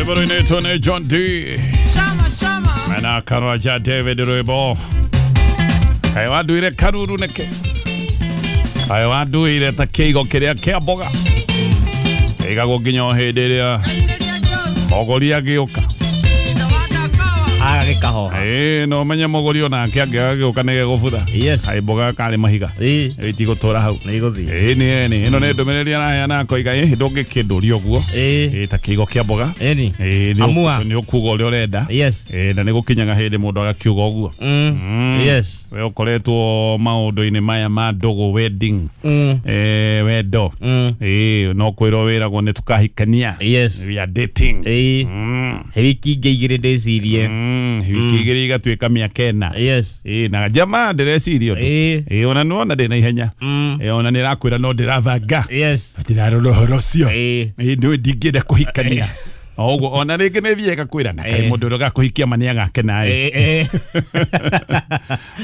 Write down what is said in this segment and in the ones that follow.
Rwĩmbo rũinĩtwo nĩ John D mena kanua ja David rwĩmbo kaĩ wanduire karuru nĩkĩ kaĩ wanduire ta kĩigo kĩrĩa kĩa mboga kĩigagwo nginya o hĩndĩ ĩrĩa mũgũri agĩũka. Agagĩkahoha. Ĩĩ no menye mũgũri onake angĩagagĩũka nĩ gegũbutha. Yes. Kaĩ mboga karĩ mahiga. Ĩĩ. Ĩtigũtũra hau. Nĩ igũthiĩ. Ĩĩ nĩ ĩni ĩno nĩ ndũmĩrĩri araheana akoiga ĩ ndũngĩkĩndũria ũguo. Ĩĩ. Ĩĩ ta kĩigo kĩa mboga. Ĩni. Ĩĩ nĩ Amua. nĩ ũkuga ũrĩa ũrenda. Yes. Ĩĩ na nĩ gũkinyaga hĩndĩ mũndũ agakiuga ũguo. Yes. We ũkoretwo maũndũ-inĩ maya ma ndũgũ wedding. Wendo. Ĩĩ no kwĩrwo wĩragwo nĩ tũkahikania. Yes. We are dating. Ĩĩ. Wiki ingĩ igĩrĩ ndĩcirie. Wiki igĩrĩ igatuĩka mĩaka ĩna. Yes. Ĩĩ na jamaa ndĩreciria ũndũ. Ĩĩ. Ĩĩ ona nĩwona ndĩ na ihenya. Ĩĩ ona nĩ ĩrakwĩra no ndĩrabanga. Yes. Ndirarora ũhoro ũcio. Ĩĩ. Ĩĩ nĩ ndingĩenda kũhikania. O ũguo ona rĩngĩ nĩ thiaga kwĩra na kaĩ Ĩĩ. mũndũ ũrĩa ũgakũhikia ma nĩ agakena ĩ. Ĩĩ.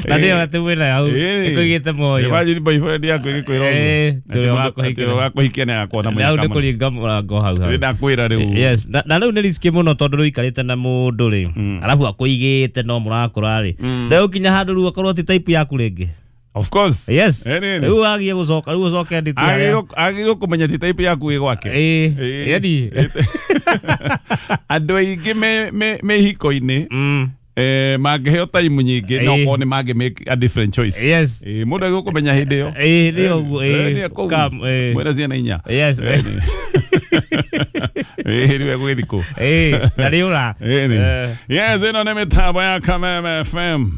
Na nĩyo atĩ mwĩna hau. Ĩkũigĩte moyo. Imagine boyfriend yaku ĩgĩkwĩra ũguo. Ĩĩ, Atĩ ũrĩa mũndũ- wakũhikia. atĩ ũrĩa ũgakũhikia nĩ agakuona Na hau mũnyaka nĩ mũno. kũringa mũrango hau hau. Nĩ ndakwĩra rĩu. Yes, na rĩu nĩ riski mũno tondũ rĩu ikarĩte na mũndũ rĩ, arabu akũigĩte no mũrakũra rĩ, rĩu kinya handũ rĩu akorwo ti type yaku rĩngĩ. Of course. Yes. Ĩĩ, nĩ, nĩ. Rĩu wagie gũcoka rĩu ũcoke nditi harĩa. Agĩrĩirwo kũmenya ti type yaku ĩ gwake. Ĩĩ, Ĩĩ. yani. Andũ aingĩ me hiko-inĩ mangĩheo time nyingĩ no Ĩĩ. korwo nĩ mangĩ make a different choice. Yes. Ĩĩ, mũndũ agĩrĩirwo kũmenya hĩndĩ ĩyo. Ĩĩ, nĩ ũguo, Ĩĩ, ĩĩ. nĩ kũu. Come, ĩĩ. Mwĩna ciana inya. Yes. Ĩĩ, nĩ. Ĩĩ, rĩu egũgĩthiĩ kũ? Ĩĩ, na nĩ ũra. Ĩĩ, nĩ. Yes, ĩno nĩ mĩtambo ya Kameme FM.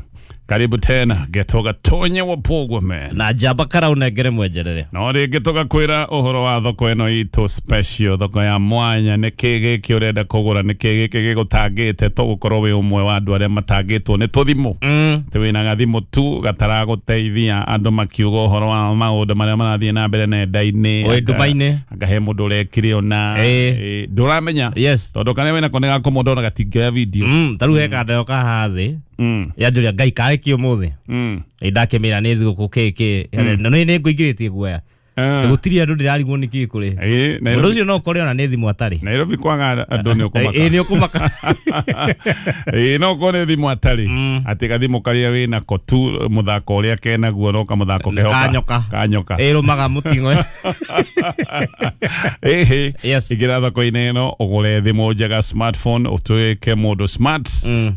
Karibu tena getoga tonye wapogwo man. Na njamba karaunengere mwenjerere. No rĩngĩ tũgakwĩra ũhoro wa thoko ĩno itũ special, thoko ya mwanya. Nĩ kĩ gĩkĩ ũrenda kũgũra, nĩ kĩ gĩkĩ gĩgũtangĩte? Tũgũkorwo wĩ ũmwe wa andũ arĩa matangĩtwo nĩ tũthimũ. Atĩ wĩna gathimũ tu gataragũteithia, andũ makiuga ũhoro wa maũndũ marĩa marathiĩ na mbere nenda-inĩ. Wĩ nduma-inĩ. Anga he mũndũ ũrekire ona. Ĩĩ. Ĩĩ, ndũramenya. Yes. Tondũ karĩa wĩnako nĩ gakũmũndũ ona gatingĩoya video. Ta rĩu he kandeo kahaha thĩ. Yanjũria Ngai karĩ kĩ ũmũthĩ. Ĩ ndakĩmĩra nĩ thigũkũ kĩ kĩ. Na nĩ ngũingĩrĩtie guoya. Gũtirĩ andũ ndĩrarigwo nĩ kĩ kũrĩ. Ĩĩ, Mũndũ Nairobi, ũcio no ũkore ona nĩ thimũ atarĩ. Nairobi kwaga andũ nĩ ũkũmaka. Ĩĩ, nĩ ũkũmaka. Ĩĩ no korwo nĩ thimũ atarĩ atĩ gathimũ karĩa wĩnako tu mũthako ũrĩa kenaguo no kamũthako keho Kanyoka. kanyoka. Ĩrũmaga mũting'oe. Ĩhĩ. Yes. Ingĩra thoko-inĩ ĩno ũgũre thimũ njega smartphone ũtuĩke mũndũ smart.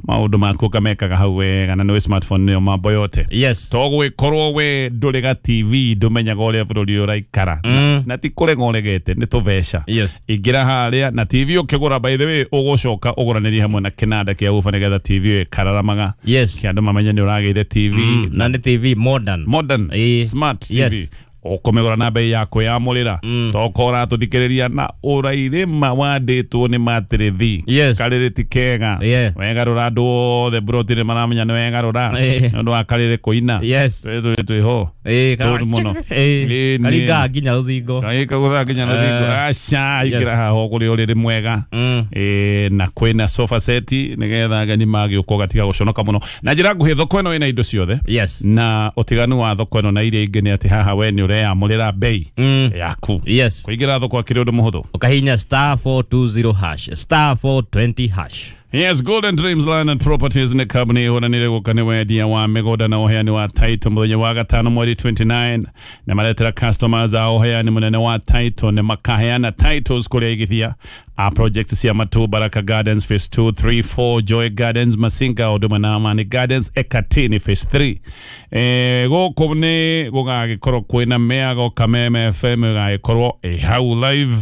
Maũndũ maku ũkamekaga hau wega na nĩwe smartphone nĩyo mambo yote. Yes. To gwĩkorwo we ndũrĩ ga TV ndũmenyaga ũrĩa bũrũri ũraikara. Na ti kũrega ũregete nĩ tũbeca. Yes. Ingĩra harĩa na TV ũkĩgũra, by the way ũgũcoka ũgũranĩrie hamwe na kĩnanda kĩa uba nĩgetha TV ĩyo ĩkararamaga. Yes. Kĩ andũ mamenye nĩ ũragĩire TV. Na nĩ TV modern. Modern. Ĩĩ. Smart TV. Yes. Ũkũmĩgũra na bei ya kwĩyamũrĩra. Tokorwo ũratũthikĩrĩria na ũrairĩma wandĩtwo nĩ matĩrĩthi. Yes. Karĩrĩ ti kega. Yeah. Wegarũra andũ othe mburoti nĩ maramenya nĩ wegarũra. Ĩĩ. Nĩ ũndũ wa karĩrĩ kũina. Yes. Twĩ twĩho. Ĩĩ, Tũru mũno. Ĩĩ. Ĩĩ, nĩ. Karingaga nginya rũthingo. Kagũtha nginya rũthingo. Aca, ingĩra haha ũgũre ũrĩrĩ mwega. Ĩĩ, na kwĩna sofa set nĩgetha ageni magĩũka ũgatiga gũconoka mũno. Na njĩra nguhĩ thoko ĩno ĩna indo ciothe. Yes. Na ũtiganu wa thoko ĩno na iria ingĩ nĩ atĩ haha we nĩ ũreyamũrĩra bei yaku. Yes. Kũingĩra thoko akĩrĩ ũndũ mũhũthũ. Ũkahihinya star 420 hash. Star 420 hash. Yes, Golden Dreams Land and Properties nĩ kambuni ĩhũranĩire gũka nĩ wendia wa mĩgũnda na ũheani wa title mũthenya wa gatano mweri 29 nĩ maretera customers a ũheani mũnene wa title nĩ makaheana titles kũrĩa aigithia a project cia Matu Baraka Gardens phase 2 3 4 Joy Gardens Masinga Huduma na Amani Gardens Ekatini phase 3. Gũkũ nĩ gũgagĩkorwo kwĩna mĩago Kameme FM ĩgagĩkorwo ĩ hau live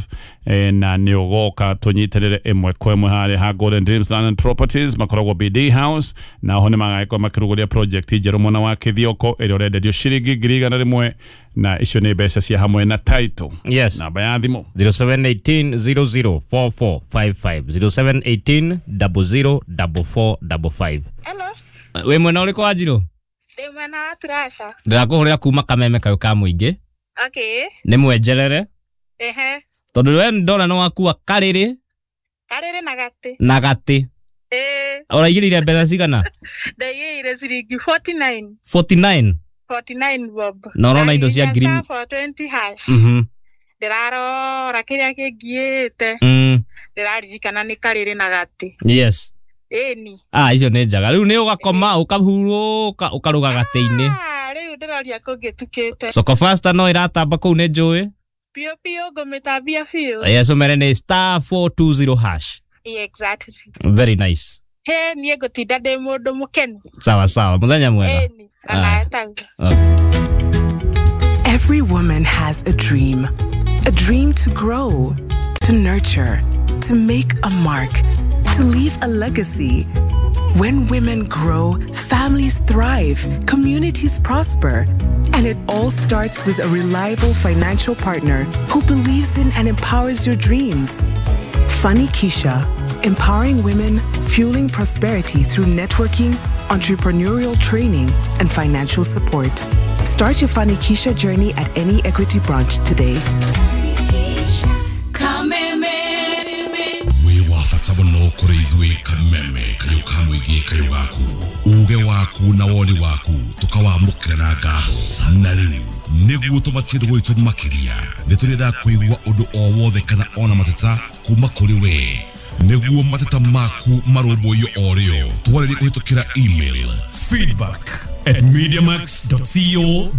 na nĩ ũgoka tũnyitĩrĩre ĩmwe kwa ĩmwe harĩa ha Golden Dreams Land and Properties makoragwo BD House na ho nĩ magagĩkorwo makĩrugũria project njerũ mwena wa Kĩthioko ĩrĩa ũrenderio ciringi 100,000 na icio nĩ mbeca cia hamwe na title. Yes. Namba ya thimũ 0718 004455 0718 004455. Hello, Wĩ mwena ũrĩkũ wa Njirũ? ndĩ mwena wa Turasha. Ndĩrakũhũrĩra kuma Kameme kayũ ka mũingĩ. Okay. Nĩ mwenjerere. Ehe. Tondũ we ndona nĩ wakua karĩrĩ Karĩrĩ na gatĩ. na gatĩ. Ĩĩ, Ũraigĩrĩire mbeca cigana? ndaigĩire ciringi 49. 49. 49 bob. Na ũrona indo cia Ndahihinya ngiri- star 420 hash. Ndĩrarora kĩrĩa kĩngiĩte. Ndĩraririkana nĩ karĩrĩ na gatĩ. Yes. Ĩni. Ah, icio nĩ njega. Rĩu nĩ ũgakoma ũkahurũka ũkarũga gatĩ-inĩ. Ah, rĩu ndĩroria kũngĩtukĩte. Soko Fasta no ĩratamba kũu nĩ njũĩ. Biũ biũ ngũmĩtambia biũ. Yes, ũmere nĩ *420#. Exactly. Very nice. He niĩ ngũtinda ndĩ mũndũ mũkenu. Sawa sawa, mũthenya mwega. Ĩni. Onawe taguo. Okay. Every woman has a dream. A dream to grow, to nurture, to make a mark, to leave a legacy. When women grow, families thrive, communities prosper. And it all starts with a reliable financial partner who believes in and empowers your dreams. Funny Keisha, empowering women, fueling prosperity through networking, entrepreneurial training, and financial support. Start your Funny Keisha journey at any Equity branch today. Wĩ wa bata mũno kũrĩ ithuĩ Kameme, kayũ ka mũingĩ, kayũ gaku, uge waku na woni waku tũkawamũkĩra na ngatho. Na rĩu nĩguo tũmatie gwitũ makĩria, nĩ tũrĩendaga kũigua ũndũ o wothe kana ona mateta kuma kũrĩ we, nĩguo mateta maku marũmbũiyo o rĩo. Twarĩrie kũhĩtũkĩra email feedback@mediamax.co.